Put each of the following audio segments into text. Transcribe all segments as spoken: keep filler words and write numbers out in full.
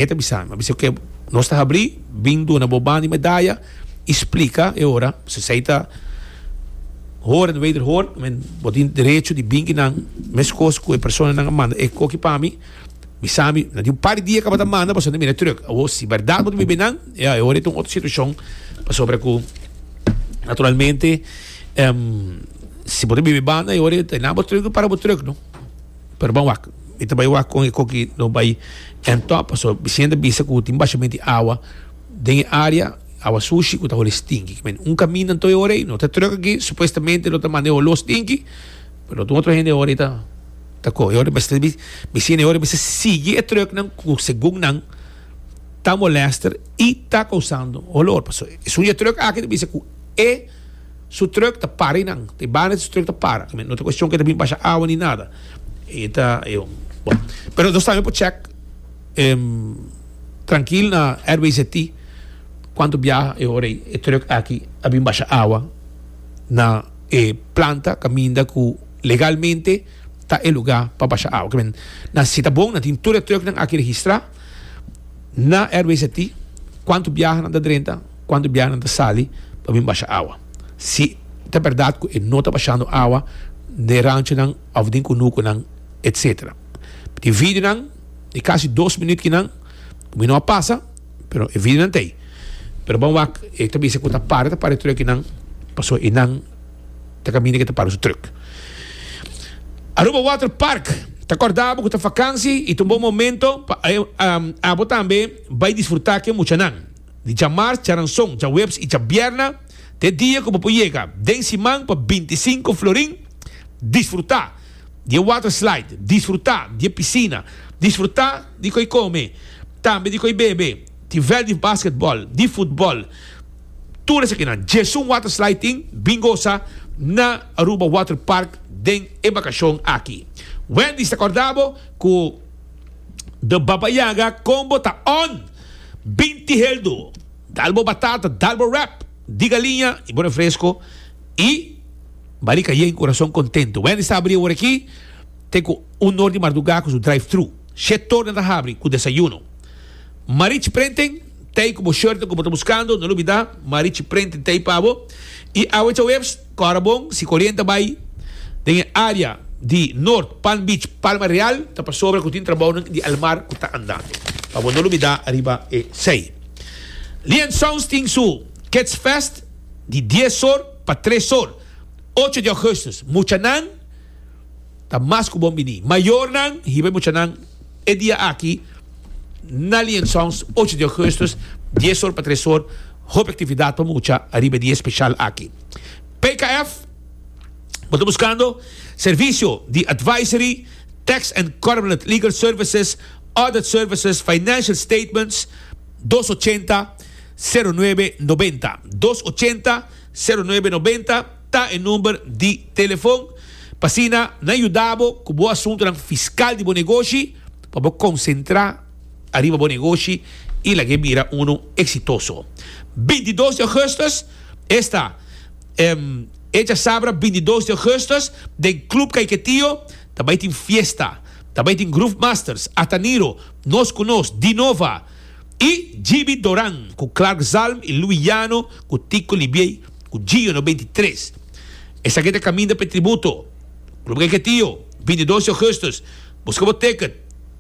E ta bisa mi, a bisa ke nos ta habri, bin duna bo banda di medaya i splika e ora, si esei ta hoor en wederhoor, men bo tin derecho di bin kinan meskos ku e personanan a manda e koki pa mi, bisa mi, na di un par di dia kaba ta manda pasobra nan mira e truk. Awor si bèrdat bo ta biba einan, ya e ora ei ta un otro situashon pasobra ku naturalmente si bo ta biba e banda e ora ei ta nan bo truk para bo truk no. Pero ban wak, mi ta bai wak kon e koki lo bai en top, pasobra Vicente a bisa ku tin bashament di awa den e area, awa sushi ku ta holi stinki. Men un kaminda anto e ora ei, no ta truk aki, supuestamente lo ta manda e holó stinki, pero lo tin otro hende e ora ei ta ta kohe. E ora mester Vicente e ora mester sigui e truknan ku segun nan ta molester i ta kousando holor. Pasobra esun di e truk aki ta bisa ku e su truck ta para einan, ta e banda di su truck ta para. No ta cuestion cu e ta bin basha awa ni nada. E ta, e, bon. Pero nos tambe por check em, trankil na R W Z T cuanto biaha e ora ei e truck aki a bin basha awa na e planta caminda cu legalmente ta e lugar pa basha awa. Kimen, na si ta bon, nan tin tur e trucknan aki registra na R W Z T cuanto biaha nan ta drenta, cuanto biaha nan ta sali pa bin basha awa. Si ta berdad cu e no ta bashando awa den ranchonan of den cunuconan etcetera. Tin videonan di casi dos minuut kinan cu mi no a pasa, pero e videonan ta ey. Pero ban wak e ta bisa cu ta para ta para e truckinan pasobra eynan ta caminda cu ta para su truck. Aruba Water Park ta corda bo cu ta vakantie y ta un bon momento pa abo tambe bay disfruta cu e muchanan. Di djamars, djaranson, djaweps y djabierna ta e dia ku bo por yega den siman pa binti sinku florin. Disfrutá di e water slide, disfrutá di e pisina, disfrutá di koi kome, tambe di koi bebe, tin vèlt di basketbòl, di futbòl, tur esakinan. Djesun water slide tin, bin gosa na Aruba Water Park den e bakashon aki. Wendy's ta kòrda bo ku The Baba Yaga combo ta on! Binti heldu, dal bo batata, dal bo wrap di galiña y bo refresco y barika yen, corazon contento. Wendy's ta habri awor aki te cu un or di marduga cu su drive thru. Shet or nan ta habri cu desayuno. Marichi Printing t'ey cu bo shirtnan cu bo ta buscando, no lubida Marichi Printing t'ey pa bo. Y awe djaweps, cora bon, si coriente bay den e area di Noord, Palm Beach, Palma Real, ta pasobra cu tin trabounan di Almar cu ta andando. Pa bo no lubida riba esey. Lien Sounds tin su Kids Fest di dies or pa tres or, ocho di augustus. Muchanan ta mas cu bon bini. Mayornan hiba e muchanan e dia aki na Lien Sounds, ocho di augustus, dies or pa tres or. Hopi actividad pa mucha riba e dia special aki. P K F. Bo ta buscando servicio di advisory, tax and corporate legal services, audit services, financial statements, dos ochenta, sero nuebe nobenta. Dos ochenta, sero nuebe nobenta ta e number di telefon pa asina nan yuda bo cu bo asuntonan fiscal di bo negoshi pa bo concentra ariba bo negoshi y lag'e bira uno exitoso. Bintidos di augustus esta. E djasabra bintidos di augustus den Club Caiquetio ta bai tin fiesta. Ta bai tin Groove Masters, Ataniro, Nos Ku Nos, Dinova y Gibi Doran ku Clark Zalm y Louis Llano ku Tico Libiey ku Gio noventa i tres. Esaki ta kaminda pa e tributo. Club Caiquetio, bintidos di augustus. Buska bo ticket.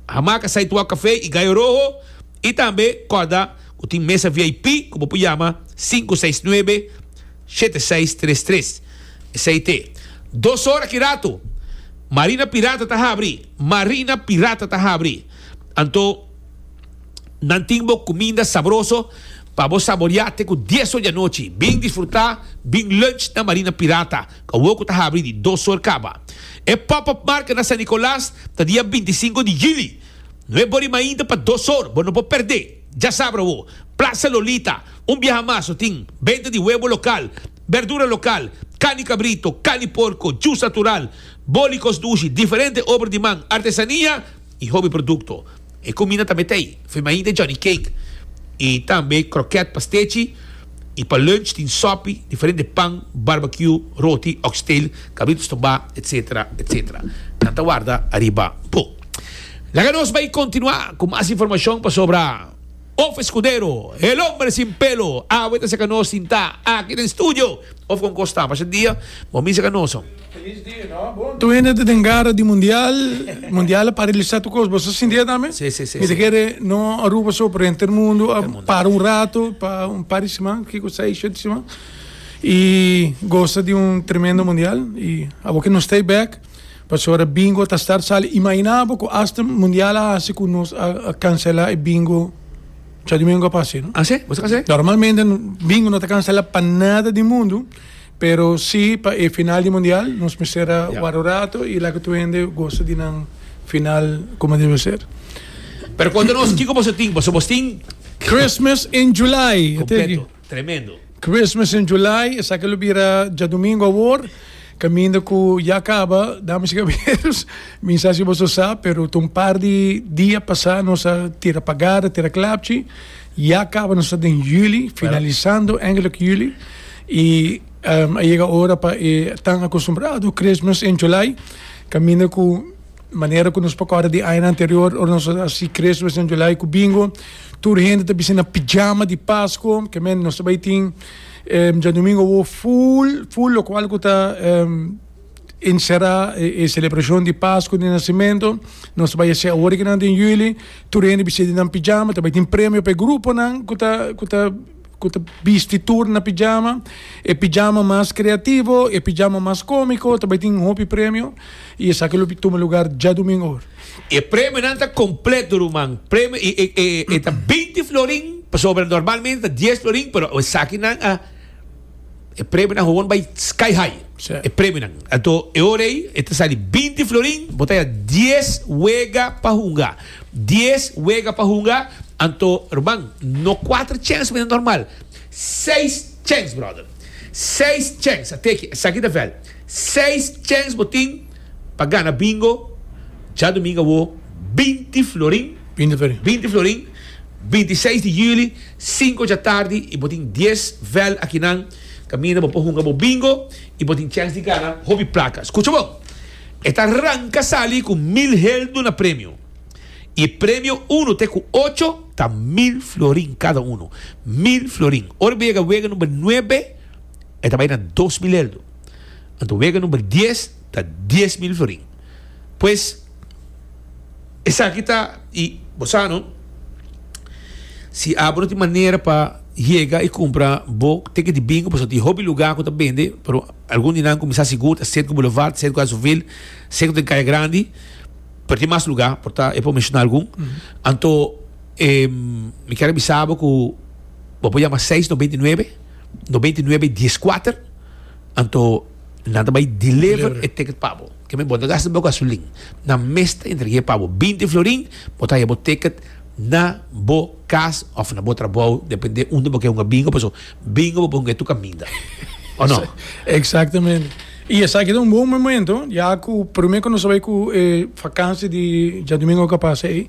Hamaca Sidewalk Café y Gallo Rojo y tambe kòrda ku tin mesa V I P ku bo por yama sinku seis nuebe, Shete seis tres tres. Esei te. Dos ora ki ratu Marina Pirata ta habri. Marina Pirata ta habri. Anto nan tin bo kuminda sabroso pa bo saboreá te ku dies or di anochi. Bin disfrutá, bin lunch na Marina Pirata, ku awor ku ta habri di dos or kaba. E pop-up market na San Nicolas ta dia binti sinku di juli. Nuebe or di mainta pa dos or. Bo no por perdé. Djasabra awo, Plaza Lolita, un biaha mas lo tin benta di webo lokal, berdura lokal, kani kabrito, kani porko, jus natural, boli kos dushi, diferente obra di man, artesania i hopi produkto. E kuminda tambe ta ei, firmainta Johnny Cake i tambe kroket, pastechi i pa lunch tin sopi, diferente pan, barbecue, roti, oxtail, kabrito stobá, etcetera, etcetera. Nan ta warda ariba bo. Laga nos bay continua cu mas informacion pasobra Of Escudero, el hombre sin pelo, awe ta saca nos sinta aki den studio. Of con costa, pasa dia, bo misa canoso. Feliz dia, no? Bon. Tu hende den gara di Mundial, Mundial a paralisa tur cos. Bo a sinti tambe? Si, si, si. Mi ta kere no Aruba so, pero henter mundo a para un rato, pa un par di siman, kico, seis, siete siman. Y goza di un tremendo Mundial. Y awor cu nos ta back, pasobra bingo ta start sali. Imagina cu hasta Mundial a haci cu nos a, a cancela e bingo diadomingo pasa, no? Ah, si? Bo cancela? Normalmente bingo no ta cancela pa nada di mundo, pero si pa e final di Mundial nos mester a Ja. warda un rato y laga tur hende goza di un final como debe ser. Pero conta nos, kico bo tin? Bo tin Christmas in July. Completo. Tremendo. Christmas in July, esaki lo bira diadomingo awor, caminda cu ya caba, damas y caballeros, mi sa si bo sa, pero un par di dia pasa nos a tira pagara, tira klapchi, ya caba, nos ta den juli, finalisando eigenlijk juli, y um, a yega ora pa eh, tan acostumbrado Christmas in July, caminda cu manera cu nos por corda di aña anterior, ora nos haci Christmas in July cu bingo, tur hende ta bisti na pijama di Pasco, kiermen nos tambe tin um, diadomingo o full, full, locual cu ta um, encera e, e celebracion di Pasco di Nacimento. Nos bay haci awor aki den juli, tur hende bisti na pijama, tambe tin premio pa grupo nan, cu ta cu ta cu ta bisti tur na pijama, e pijama mas creativo, e pijama mas comico, tambe tin hopi premio, y esaki lo tuma lugar diadomingo. E premio nan ta completo, ruman. Premio e e e, e ta binti florin, pasobra normalmente ta dies florin, pero esaki nan a e premio nan gewoon bay sky high. Si. E premio nan. Anto, e ora ey, e ta sali binti florin, bo ta dies wega pa hunga. dies wega pa hunga, anto, ruman, no cuater chance mas normal. Seis chance, brother. Seis chance. Ata aki, esaki ta veld. Seis chance bo tin pa gana bingo. Diadomingo bo binti florin. binti florin. binti florin. binti seis di juli, cinco di atardi, y bo tin dies veld aki nan. Caminda bo por hunga bo bingo y bo tin chance di gana hopi placa. Scucha bon. E ta ranca sali cu mil heldo na premio. Y premio un te cu ocho ta mil florin cada uno. Mil florin. Ora yega wega number nuebe, e ta bay na dos mil heldo. Anto wega number dies ta dies mil florin. Pues esaki ta y bo no si abro di manera pa yega y cumpra bo ticket di bingo, pasobra tin hopi lugar cu ta bende, pero algun di nan cuminsa sigur, Centro Boulevard, Centro Azuville, Centro di Caya Grandi, pero tin mas lugar, por ta, e por menciona algun. Anto, eh, mi kier avisa cu bo por yama seis noventa i nuebe noventa i nuebe diescuater, anto nan ta bay deliver Deliver. e ticket pa bo. Kiermen bo no ta gasta bo gasolin. Nan mes ta entrega pa bo binti florin, bo ta bo ticket na bo cas of na bo trabou, depende unda bo kier un bingo, paso bingo bo por tur caminda. O no? Exactamente. Y esaki ta un bon momento, ya cu prome cu nos bay cu eh, vakantie di diadomingo cu a pasa ey.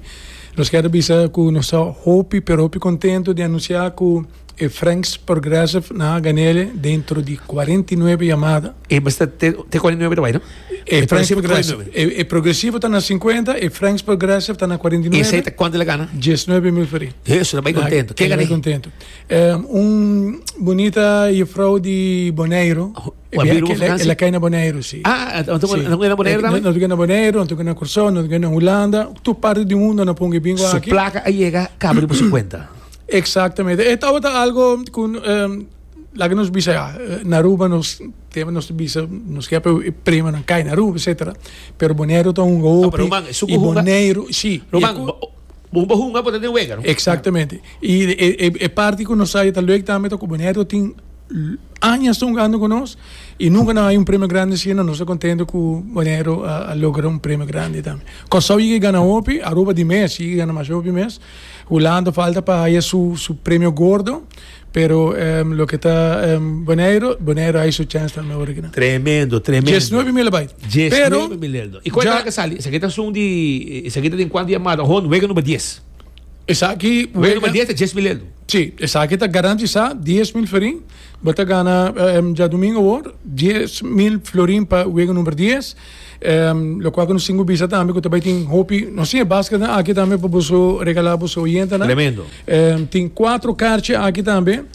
Nos kier bisa cu nos ta hopi, pero hopi contento di anuncia cu e Franks Progressive nan a gan'e dentro di cuarenta i nuebe yamada. E basta te te cuarenta i nuebe tambe, no? E Franks cuarenta i nuebe. Progressive, e, e Progressivo ta na cincuenta y Franks Progressive ta na cuarenta i nuebe. Y esey ta cuanto el a gana? diesnuebe mil florin. Eso, ta bay contento. Ken Ken gana? Contento. Um, un bunita juffrouw di Bonaire. Oh, a bira un vakantie? El a cay na Bonaire, si. Ah, anto Si. no na Bonaire tambe? No na Bonaire, no na Corsou, no na Hulanda. Tur parti di mundo nan a pone bingo Su aki. placa a yega, caba di su cuenta. Exactamente. E tabata algo cu um, laga nos bisa ja, na Aruba nos tin nos bisa nos kier premio nan cay na Aruba, et cetera. Pero Bonaire ta un Ah, pero ruman, y Bonaire, si. Ruman, bo bo hunga por den wega, no? Exactamente. Y e, e, e parti cu nos sa ta leuk tambe cu Bonaire tin aña hungando cu nos y nunca no a haya un premio grandi asina. Nos ta contento cu Bonaire a, a logra un premio grandi tambe. Corsou a gana hopi, Aruba di mes, a gana mas hopi mes. Hulanda falta pa haya su su premio gordo, pero um, loke ta um, Bonaire, Bonaire a haya su chance tambe awor aki. Tremendo, tremendo. diesnuebe mil bay. diesnuebe mil euro. Y cuanto ya- cu a sali? Esaki ta un di esaki ta den cuanto yamada? Hon, wega number dies. Esaki Wega number dies ta dies mil euro. Si, esaki ta garantisa dies mil florin. Bo ta gana um, djadumingu awor dies mil florin pa wega number dies. Um, lokual ku nos tin ku bisa tambe ku tambe tin hopi, nos tin basket aki tambe pa boso regalá boso oyentenan. Tremendo. Um, tin kuater karchi aki tambe.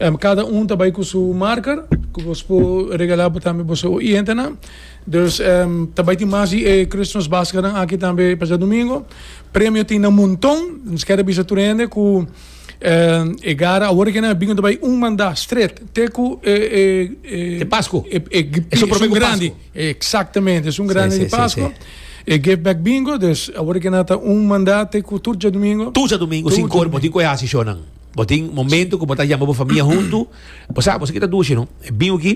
Um, kada un tambe ku su marker, ku boso por regalá tambe boso oyentenan. Dus um, tambe tin mas eh, Christmas basket aki tambe pa djadumingu. Premio tin un monton, nos ke bisa tur hende ku um, e gara awor ku nan bingo tambe un manda straight te ku eh, eh, eh, Di Pasku. E, e, E un un grandi. Pasku. Eksaktamente, e un grandi Si, di si, Pasku. si, E give back bingo, dus awor ku nan ta un manda te ku tur djadumingu. Tur djadumingu, Tur sinku or, djadumingu. Bo tin ku hasi shonan. Bo tin momento ku bo ta yama bo famia huntu. Bo sabi, bo kita dushi, no? E bingo aki,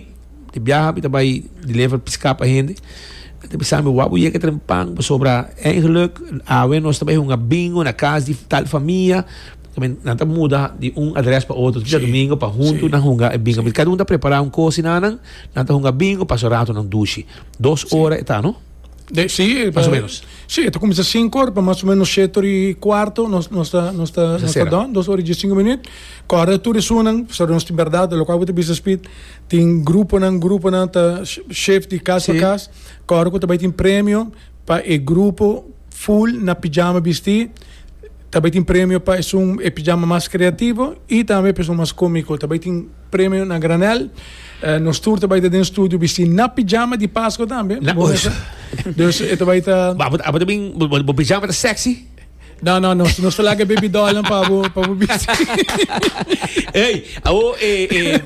di biaha, ta bai deliver piská pa hende. Te pensando, wak yega trempan, sobra eigenlijk, awe nos tambe un bingo na kas di tal famia. Tambe nan ta muda di un adrès pa otro, djadumingu pa huntu Si. nan hunga e bingo. Kada un ta prepará un kos nan, nan ta hunga bingo, pasa ratu nan dushi. Dos ora ta, no? De, si, Mas o ménos. Si, anto kuminsá sinku or, pa mas o ménos shete i kuartu, nos nos ta nos ta nos ta sera. Done, dos or i sinku minüt. Kòrda tur esunnan, so nos tin berdat, lokual bo ta bisa, Speed, tin gruponan, gruponan ta shift di kas pa Si. kas. Kòrda ku tambe tin premio pa e grupo full na pijama bistí. Tambe tin premio pa un e pijama mas kreativo i tambe pa un mas kómiko. Tambe tin premio na granel. Uh, nos tur tambe den studio bistí na pijama di Pasku tambe. Na- Bon, dus e tambe ta. Ma bo tambe bo pijama ta sexy? No, no, nos nos ta laga baby doll pa bo pa bo bisti. Ei, awo eh eh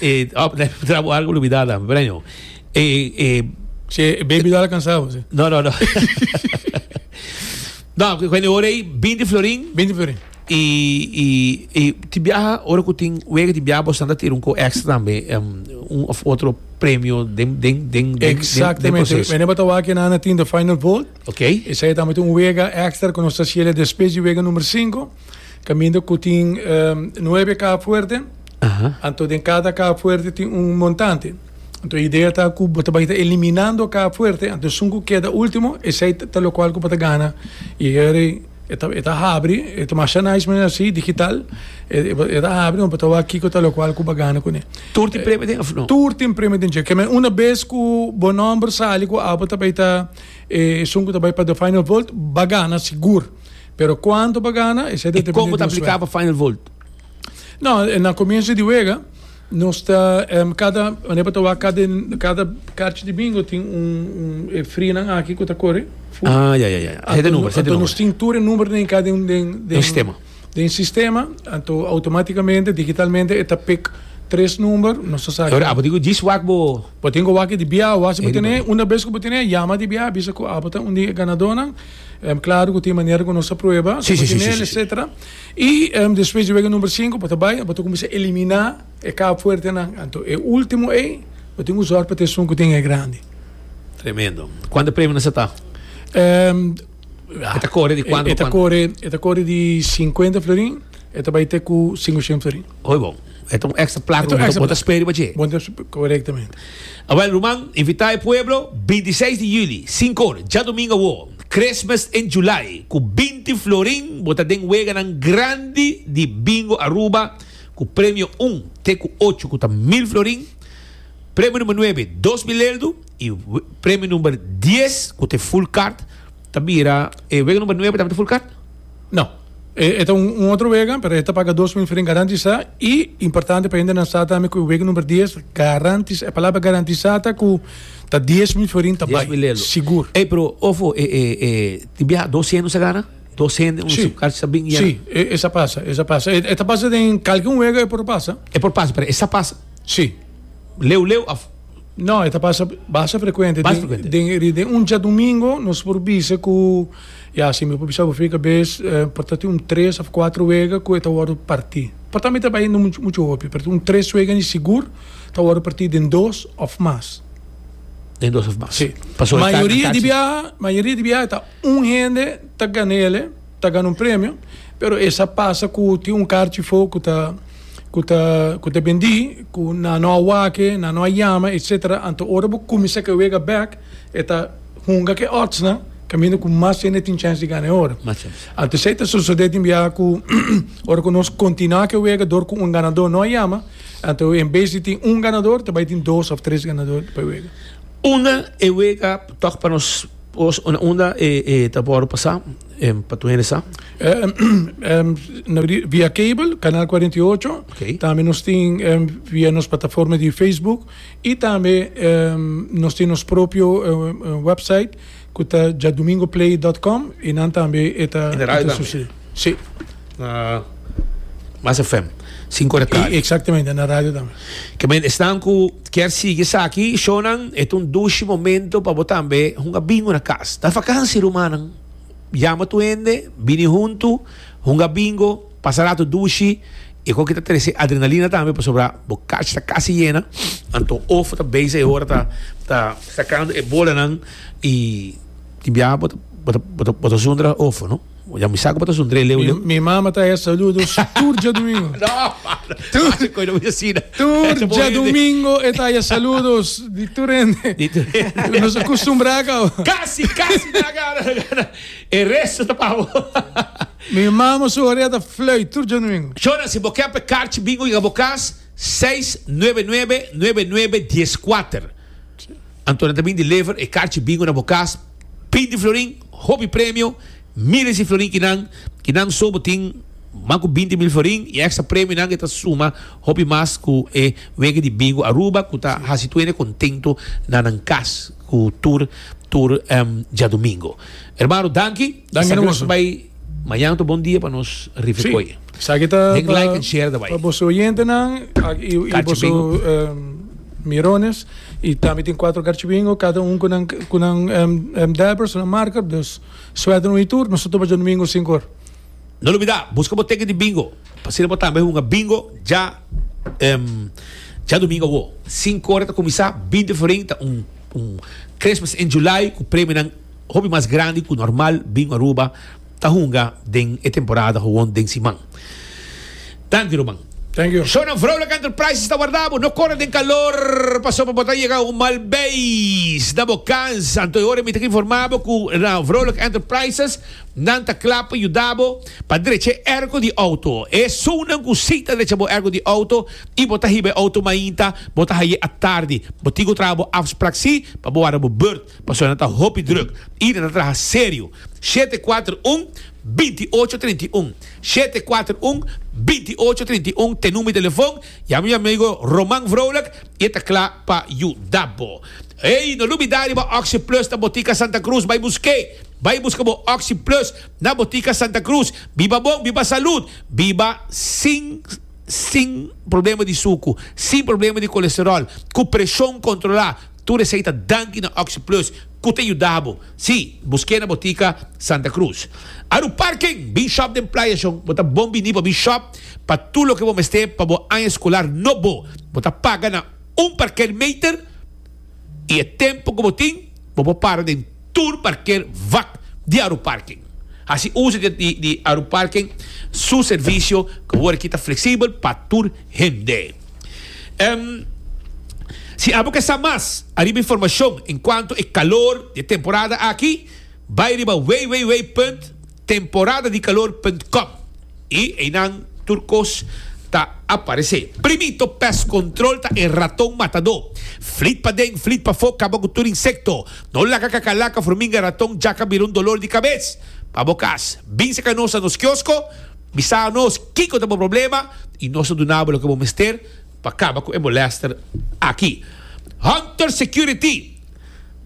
eh oh, trabo algu lubidá, pero eh eh Si, baby doll kansá, si. No, no, no. No, kuando ora ei binti florin. binti florin. I i i tin biaha ora ku tin wega, tin biaha bo ta tira un ko extra tambe, um, un òf otro premio den den den den Eksaktamente. proseso. We hebben het na tin the final vote. Ok. Esei tambe un wega extra ku nos ta hasi despues di wega number sinku. Kaminda ku tin um, nuebe kaha fuerte. Aham. Anto, den kada kaha fuerte tin un montante. Anto, e idea ta ku bo ta bai eliminando kaha fuerte. Anto, esun ku keda último, esei ta lokual ku bo ta gana. I e ta e ta habri, e ta mas nice mes asina, digital. E ta habri, bo ta aki ku ta lokual ku bo gana kuné. Tur tin premio den òf no? Tur tin premio den. Ke men un bes ku bo nòmber sali ku abo tambe ta esun ku tambe pa the final vote, bo gana sigur. Pero kuantu bo gana, esei I kon ta apliká pa final vote? No, na komienso di wega, nos ta um, kada, wanneer kada kada karchi di bingo tin un un frina aki ku ta kore. Ah, ja, ja, ja. Sete number, sete Anto, number. nos tin tur number den kada un den Den sistema. Den sistema, anto outomátikamente, digitalmente, e ta pick tres number, nos sa. Awor, abo digo, djis wak bo. Bo tin ku wak di bia, wak Ele bo tin, un bes ku bo tin, yama di bia, bisa ku abo ta un di ganadónan. Um, klaro ku tin manera ku nos a prueba, Si, si, si, si, si, si. et cetera. I um, despues di wega number sinku, bo ta bai, bo ta kuminsá eliminá e kaha fuertenan. Anto, e último ei, bo tin ku zorg pa esun ku tin e grandi. Tremendo. Kuantu premio nan ta? Um, E ta kore di kuantu? E ta kore, e ta kore di sinkuenta florin, e ta bai te ku sinkushen florin. Oi, bon. Anto, extra plaka, Anto, extra bo ta spera pa Bon, korektamente. Awèl, ruman, invitá e pueblo, bintiseis di yüli, sinku or, djadumingu awo, Christmas in July, ku binti florin, bo ta den weganan grandi di Bingo Aruba, ku premio un, te ku ocho, ku ta mil florin, premio number nuebe, dos mil euro, i premio number dies, ku ta full card, ta bira, eh, wega number nuebe tambe full card? No. E ta un, un otro wega, pero e ta paga dos mil florin garantisá i importante pa ainda sa tambe ku wega number dies garantisá, e palabra garantisá ta ku ta dies mil florin ta dies mil euro. Sigur. Ei, pero ofo, eh, eh, eh, tin biaha dos hende sa gana? Dos hende, un Si. card sa bin. Si, esei pasa, esei pasa. E ta pasa den kualke wega e por pasa. E por pasa, pero esei pasa. Si. Leu leu of No, e ta pasa basta frekuente. Basta Den- frekuente. Den, den un djadumingu, nos por bisa ku, ja, si mi por bisa, fika bes, eh, por ta un tres òf kuater wega ku ta wòrdu partí. Por tambe ta bai muchu muchu hopi, pero un tres wega ni sigur ta wòrdu partí den dos òf mas. Den dos òf mas. Si. Pasó Mayoria di biaha, mayoria di biaha ta un hende ta gan'é, ta gana un premio, pero esei pasa ku tin un karchi afó ku ta ku ta ku ta bendí, ku nan no a wak e, nan no a yama, et cetera. Anto ora bo kuminsá ku wega back, e ta hunga ku odds, né? Kaminda ku mas hende tin chèns di gana ora. Mas chèns. Anto esei ta sosodé tin bia ku ora ku nos kontinuá ku e wega dor ku un ganadó no a yama, anto en bes di tin un ganador ta bai tin dos òf tres ganador pa e wega. Unda e wega tòg pa nos pos unda e e ta wòrdu pasá pa tur hende sa? Via cable, Canal cuarenta y ocho. Okay. Tambe nos tin via nos plataforma di Facebook y tambe nos tin nos propio website ku ta djadomingoplay dot com y nan tambe e ta En de radio tambe? sucede. Sí. Na Mas F M, cinco de tarde. Exactamente, na radio tambe. Ke men esnan ku kier sigui esaki, shownan, e ta un dushi momento pa bo tambe hunga bingo na kas. Ta vakansi, rumannan. Yama tur hende, bini huntu, hunga bingo, pasa rato dushi. E koki ta trese adrenalina tambe pasobra bo kachi ta kasi yena. Anto ofo ta bezig e ora ta, ta sakando e bolanan i tin biaha bo ta, bo ta, bo ta, bo ta zundra ofo, no? Ya mi sa ku bo ta zundr'é leu leu. Mi, mi mama ta haya saludos tur djadumingo. No, Tur, Hace koe no mi asina. tur Echa bo hende. djadumingo e ta haya saludos di tur hende. Di tur hende. Nos a kustumbrá kaba. Kasi, kasi na gana, na gana. E resto ta pa bo. Mi mama su orea ta fluit tur djadumingo. Shona, si bo ke pa e karchi bingo yega bo kas, seis nuebe nuebe, nuebe nuebe, dies kuater. Anto nan ta bin deliver e karchi bingo na bo kas, binti florin, hopi premio, miles di florin kinan, kinan so bo tin mas ku binti mil florin y extra premionan ke ta suma hopi mas ku e wega di bingo Aruba ku ta hasi tur hende kontento na nan kas ku tur tur djadumingo. Hermano, danki. Danki na Esaki nos boso. bai mañana ta un bon dia pa nos rifa Sí. koe. Esaki ta Den pa like and share ta bai. pa boso oyentenan ak y y Karchi boso bingo. mirones y tambe tin cuatro karchi bingo cada un cu nan cu nan dabbers, nan marker, dus suerte un y tur, nos ta topa djadumingo cinco or. No lubida, busca bo ticket di bingo, pa asina bo tambe hunga bingo dja djadumingo awo. Cinco ora ta cuminsa, binti florin ta un un Christmas in July cu premionan hopi mas grandi cu normal Bingo Aruba ta hunga den e temporada gewoon den siman. Danki ruman. Thank you. Shownan Vrolijk Enterprises ta warda bo. No kore den kalor pasobra bo ta yega un mal beis na bo kans. Anto e ora mi ta informa bo ku na Vrolijk Enterprises nan ta kla pa yuda bo pa drecha e erko di outo. Esunnan ku si ta drecha bo erko di outo i bo ta hiba e outo mainta, bo ta haye atardi. Bo tin ku traha bo afsprak si pa bo warda bo beurt pasobra nan ta hopi druk i nan ta traha serio. Shete kuater un, binti ocho trinta i un. Shete kuater un, binti ocho trinta i un te number di telefon. Yama mi amigo Roman Vrolijk i e ta kla pa yuda bo. Ey, no lubida riba Oxi Plus na Botica Santa Cruz. Bai busk'é. Bai buska bo Oxi Plus na Botica Santa Cruz. Biba bon, biba salud, biba sin sin problema di suku, sin problema di kolesterol, ku preshon kontrolá. Tur esei ta danki na Oxi Plus ku ta yuda bo. Sí, busk'é na Botica Santa Cruz. Aru Parking, bin shop den Playa Shon. Bo ta bon bini pa bin shop pa tur loke bo mester pa bo aña eskolar nobo. Bo ta paga na un parkeermeter i e tempu ku bo tin, bo por para den tur parkeer vak di Aru Parking. Hasi uso di, di, di Aru Parking su servisio ku awor aki ta fleksibel pa tur hende. Em, si abo ke sa mas ariba informashon en kuanto e kalor di e temporada aki, bai riba www punt temporada di kalor punt com i einan tur kos ta aparesé. Primito Pest Control ta e raton matadó. Flit paden, flit pafó, kaba ku tur insekto. No laga kakalaka, furminga, raton, djaka bira un dolor di kabes pa bo kas. Bin seka nos na nos kiosko, bisa nos kiko ta bo problema i nos ta duna bo loke bo mester pa kaba ku e molèster aki. Hunter Security,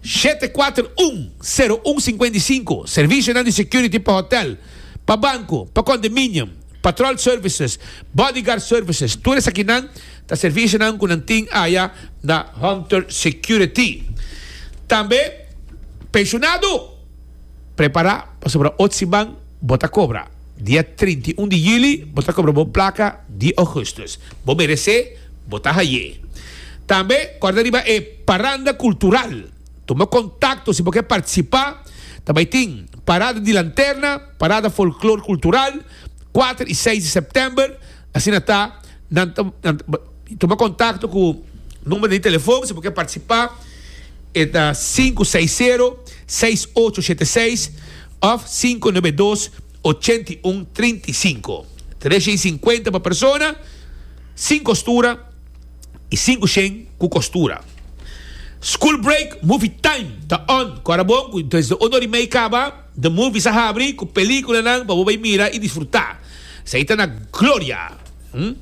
shete kuater un, sero un sinkuenta i sinku, Servisionan di security pa hotel, pa banko, pa condominium, patrol services, bodyguard services, tur esakinan ta servisionan ku nan tin aya na Hunter Security. Tambe, pensionado, prepara pasobra ot siman bo ta kobra. Dia trinta i un di juli bo ta kobra bo plaka di augustus. Bo meresé, bo ta haye. Tambe, kòrda riba e paranda kultural. Tuma kontakto si bo ke partisipá. Ta bai tin parada di lanterna, parada folklor kultural, kuater i seis di sèptèmber. Asina ta, nan ta, nan ta, tuma kontakto ku number di telefòn si bo ke partisipá. E ta sinku seis sero, seis ocho shete seis òf sinku nuebe dos, ochenta i un trinta i sinku. Tres shen i sinkuenta pa persona, sin kostura i sinku shen ku kostura. School Break Movie Time ta on. Kora bon ku desde un ora i mei kaba The Movies a habri ku pelikulanan pa bo bai mira i disfrutá. Esei ta na Gloria.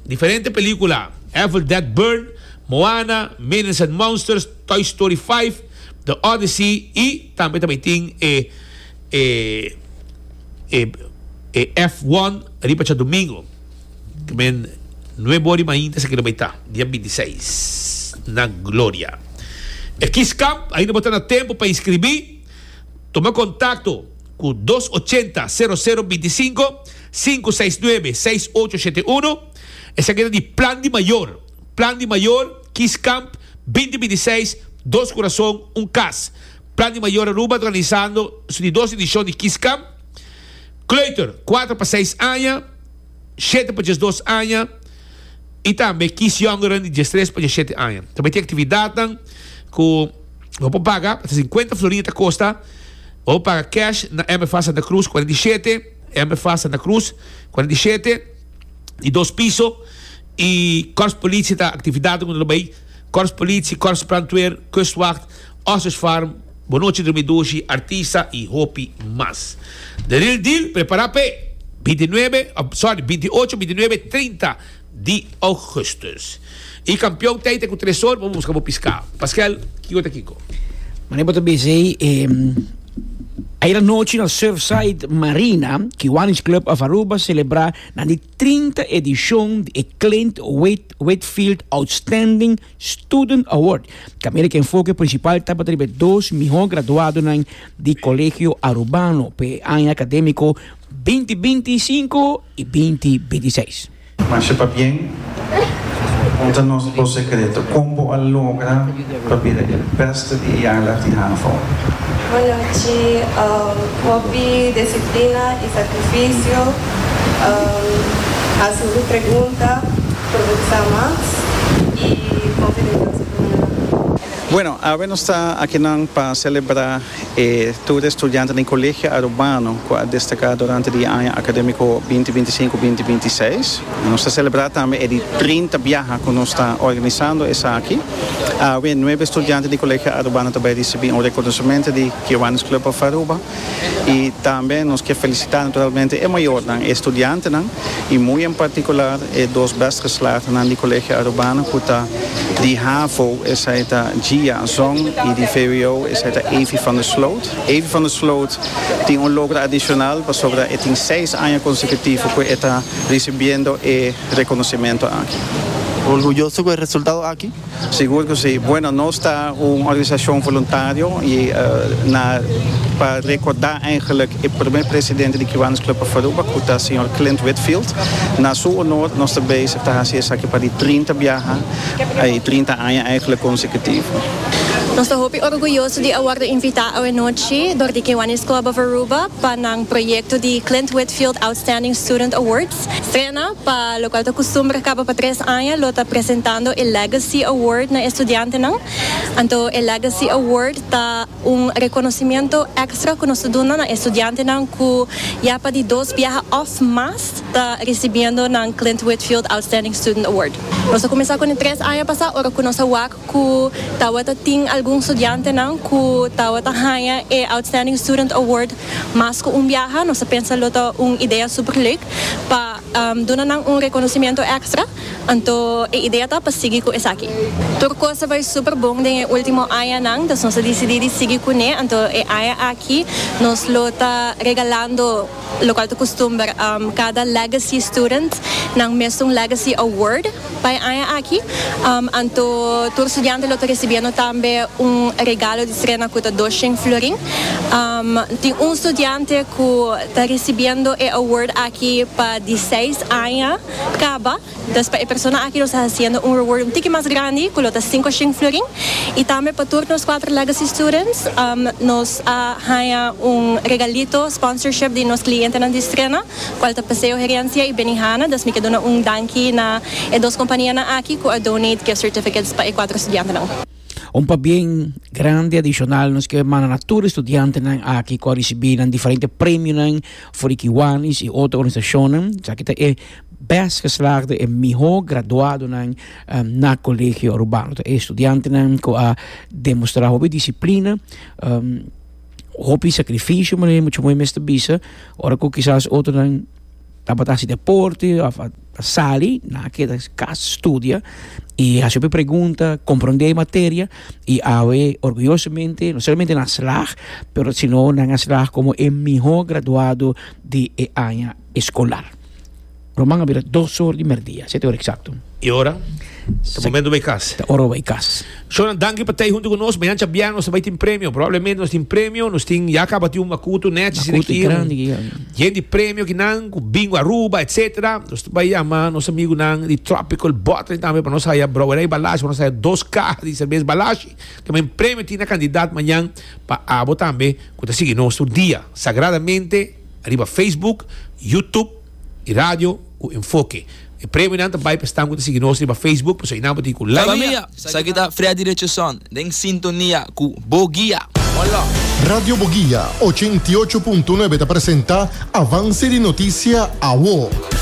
Diferente pelikula, Evil Dead Burn, Moana, Minions and Monsters, Toy Story five, The Odyssey i tambe ta bai tin e e e e F one riba djadumingu. Ke men nuebe ora i mainta esaki lo bai ta, dia binti seis na Gloria. E Kiss Camp ainda bo ta na tempu pa inskribí. Tuma kontakto ku dos ochenta sero sero binti sinku, sinku seis nuebe seis ocho shete uno. Esaki ta di Plan di Mayor. Plan di Mayor, Kiss Camp binti binti seis, Dos Kurason, Un Kas. Plan di Mayor Aruba ta organisando su di dos edishon di Kiss Camp. Kleuter, kuater pa seis aña, shete pa diesdos aña i tambe Kiss Jongeren di diestres pa diesshete aña. Tambe tin aktividatnan ku bo por paga, ta sinkuenta florin ta kosta. Bo por paga cash na M F A Santa Cruz kuarenta i shete, M F A Santa Cruz kuarenta i shete, di dos piso. I Korps Politie ta aktividatnan ku nan lo bai, Korps Politie, Korps Brandweer, Kustwacht, Ostrich Farm, Bonochi Drumi Dushi, Artista i hopi mas. The Real Deal prepara p'e binti i nuebe, sorry, binti i ocho, binti i nuebe, trinta di augustus. I kampion tei te ku tres or bo buska bo piská. Paskel, kiko ta kiko? Mane bo ta bisa ei, ayer anochi na Surfside Marina, Kiwanis Club of Aruba celebra nan di trinta edicion di e Clint Whitfield Outstanding Student Award. Caminda cu enfoke principal tabata riba e dos mihor graduadonan di Colegio Arubano p'e aña academico binti binti i sinku i binti binti i seis. Masha pabien, konta nos bo sekreto, kon bo a logra pa bira e beste di e jaarlag di havo? Bonochi, hopi disiplina i sakrifisio, hasi hopi pregunta, provoká mas i konfia den Dios primero. Bueno, awe nos ta akinan pa selebrá e tur estudiantenan di Colegio Arubano ku a destaká durante di e aña akadémiko binti binti sinku, binti binti seis. Nos ta selebrá tambe e di trinta biaha ku nos ta organisando esaki. Awe nuebe estudiante di Colegio Arubano ta bai risibí un rekonosementu di Kiwanis Club of Aruba i tambe nos ke felisitá naturalmente e mayornan, e estudiantenan i muy en partikular e dos best geslaagdenan di Colegio Arubano ku ta di havo, esei ta Gia Zong, i di V W O, esei ta Evie van der Sloot. Evie van der Sloot tin un logro adishonal pasobra e tin seis aña konsekutivo ku e ta risibiendo e rekonosementu aki. Orguyoso ku e resultado aki? Sigur ku si. Bueno, nos ta un organisashon voluntario i na pa rekordá eigenlijk e promé presidente di Kiwanis Club of Aruba ku ta señor Clint Whitfield. Na su honor nos ta bezig ta hasi esaki pa di trinta biaha i trinta aña eigenlijk konsekutivo. Nos ta hopi orguyoso di a wordo invita awe nochi dor di Kiwanis Club of Aruba pa nan proyecto di Clint Whitfield Outstanding Student Awards. Strena, pa locual ta custumber caba pa tres aña, lo ta presentando e Legacy Award na estudiantenan. Anto e Legacy Award ta un reconocimiento extra cu nos ta duna na estudiantenan cu ya pa di dos biaha of mas ta recibiendo nan Clint Whitfield Outstanding Student Award. Nos a cuminsa con e tres aña pasa, ora cu nos a wak cu tawata tin algun studiantenan cu tawata haña e Outstanding Student Award mas cu un biaha. Nos a pensa lo ta un idea super leuk pa, um, duna nan un reconocimiento extra. Anto e idea ta pa sigui cu esaki. Tur cos a bay super bon den e ultimo añanan, dus nos a dicidi di sigui cune. Anto e aña aki nos lo ta regalando, locual ta custumber, um, cada Legacy Student nan mes un Legacy Award pa e aña aki. Um, anto tur studiante lo ta recibiendo tambe un regalo di Strena cu ta doshen florin. Um, tin un studiante cu ta recibiendo e award aki pa di seis aña caba. Dus pa e persona aki nos ta haciendo un reward un tiki mas grandi, cu lo ta cinco shen florin. Y tambe pa tur nos cuatro Legacy Students, um, nos a haña un regalito sponsorship di nos clientenan di Strena, cual ta Paseo Herencia y Benihana. Dus mi ke duna un danki na e dos companianan aki cu a donate gift certificates pa e cuatro studiantenan. Un pabien grandi adishonal nos ke manda na tur estudiantenan aki ku a risibí nan diferente premionan for di Kiwanis i otro organisashonnan. Esaki ta e best geslaagde e mihó graduadonan na Kolegio Arubano. Ta e estudiantenan ku a demostrá hopi disiplina, hopi sakrifisio manera mucha muhé mester bisa, ora ku kisas otronan tabata hasi deporte òf a sali, nan a keda kas studia i hasi hopi pregunta, komprondé e materia i awe orguyosamente no solamente nan a slag, pero sino nan a slag komo e mihó graduado di e aña eskolar. Roman a bira dos or di merdia, sete ora eksakto. E ora? Ta momento bai kas. Ta ora bai kas. Shownan, danki pa tei huntu ku nos. Mañan djabièrnè nos ta bai tin premio. Probablemente nos tin premio. Nos tin, ya kaba tin un makutu nèchi asina Makutu aki. grandi ki ya. Yen di premio kinan, ku Bingo Aruba, etcetera. Nos ta bai yama nos amigunan di Tropical Bottling tambe pa nos haya Brouwerij Balashi, pa nos haya dos kaha di serbes Balashi. Ke men premio tin na kandidat mañan pa abo tambe ku ta sigui nos tur dia sagradamente riba Facebook, YouTube i radio ku Enfoke. E premionan ta bai pa esnan ku ta sigui nos riba Facebook, pasobra einan bo tin ku like. Famia, esaki ta Freddy Richardson den sintonia ku Bo Guia. Hola! Radio Boguia ochenta i ocho punto nuebe ta presenta Avance di Noticia Awo.